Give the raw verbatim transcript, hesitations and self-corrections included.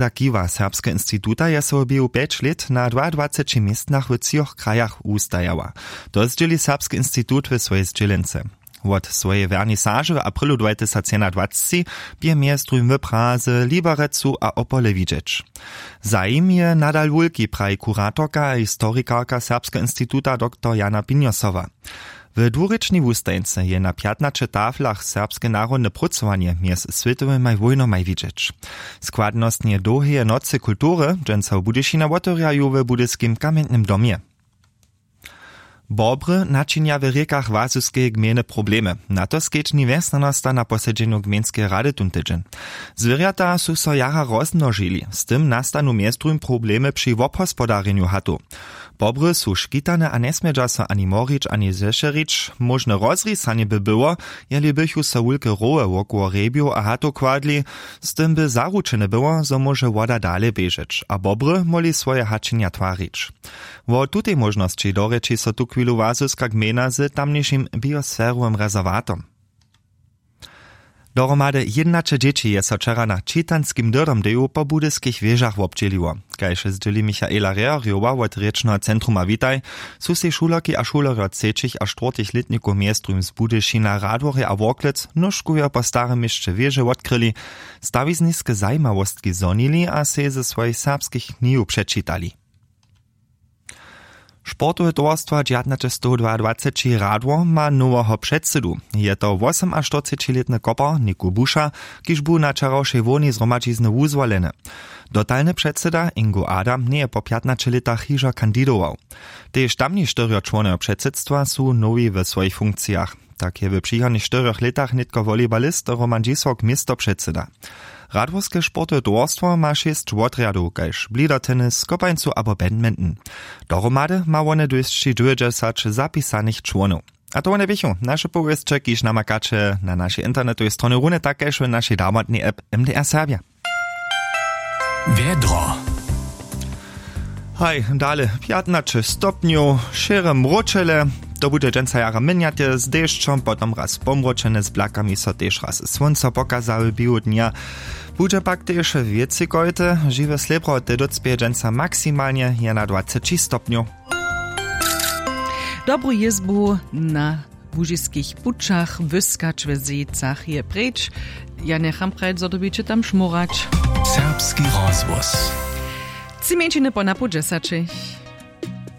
Za kiwa serbskeho instituta je so w běhu pjeć lět na dwaadwaceći městnach w třoch krajach wustajała. To zdźěli serbski institut w swojej zdźělence. Wot swojej wernisaže w aprylu dwajtysacjednadwaceći bě mjez druhim w Praze, Liberecu a Opole widźeć. Zajim je nadal wulki, praji kuratorka a historikarka serbskeho instituta doktor Jana Pinjosowa. W dwurěčnej wustajeńce je na pjatnaće taflach serbske narodne prócowanje mjez swětowymaj wójnomaj widźeć. Składnostnje dołheje nocy kultury dźensa w Budyšinje wotewrjaju w budyskim kamjentnym domje. Bobry načinja w rěkach Łazyskeje gmejne problemy. Na to skedźbni wjesnjanosta na posedźenju gmejnskeje rady tón tydźeń. Zwěrjata su so jara rozmnožili, z tym nastanu mjez druhim problemy při wobhospodarjenju hatow. Bobry su škitane a njesmědźa so ani morić, ani zešerić. Móžne rozrisanje by było, jeli bychu so wulke roły wokoło hrjebjow a hatow kładli. Z tym by zaručene było, zo móže woda dale běžeć a bobry móhli swoje hačenja twarić. Wo tutej móžnosći dorěči so tuchwilu Łazyska gmejna z tamnišim biosferowym rezerwatom. Dohromady jědnaće dźěći je so wčera na čitanskim dyrdomdeju po budyskich wěžach wobdźěliło. Kaž zdźěli Michaela Rehrjowa wot rěčneho centruma Witaj, su sej šulerki a šulerjo třećich a štwórtych lětnikow mjez druhim z Budyšina, Radworja a Worklec nóžkujo po starym měsće wěže wotkryli, stawizniske zajimawostki zhonili a sej ze swojich serbskich knihow přečitali. Sportowe towarstwo dźewjatnaćestowdwaadwaceći Radwor ma noweho předsydu. Je to wosomaštyrcećilětny kopar Niku Buša, kiž bu na wčerawšej hłownej zhromadźizny wuzwoleny. Dotalny předsyda Ingo Adam njeje po pjatnaće lětach hižo kandidował. Tež tamni štyrjo čłonojo předsydstwa su nowi w swojich funkcijach. Tak je w přichodnych štyrjoch lětach nětko wolibalist Roman Dźisłok město předsyda. Radworske sportowe towarstwo ma šěsć wotrjadow, kaž blidertennis, kopańcu abo badminton. Dohromady ma wone dwěsći dwějećdźesać zapisanych čłonow. A to wone běchu naše powěsće, kiž namakaće na našej internetowej stronje, runje tak kaž w našej damotnej app M D R Serbja. Wjedro. Haj, dale pjatnaće stopnjow, šěre mróčele. To budźe dźensa jara měnjate z dešćom, potom raz pomróčene, z blakami so tež raz słónco pokaza w běhu dnja. Budźe pak tež wěcej kojty. Žiwe slěbro te dócpěje dźensa maksimalnje jedynadwaceći stopnjow. Dobru jězbu na łužiskich pućach wyskać w zejcach je preč. Ja njecham prajc, zo dyrbjeće tam šmórać. Serbski rozhłos. Tři mjeńšiny po napoł dźesaćich.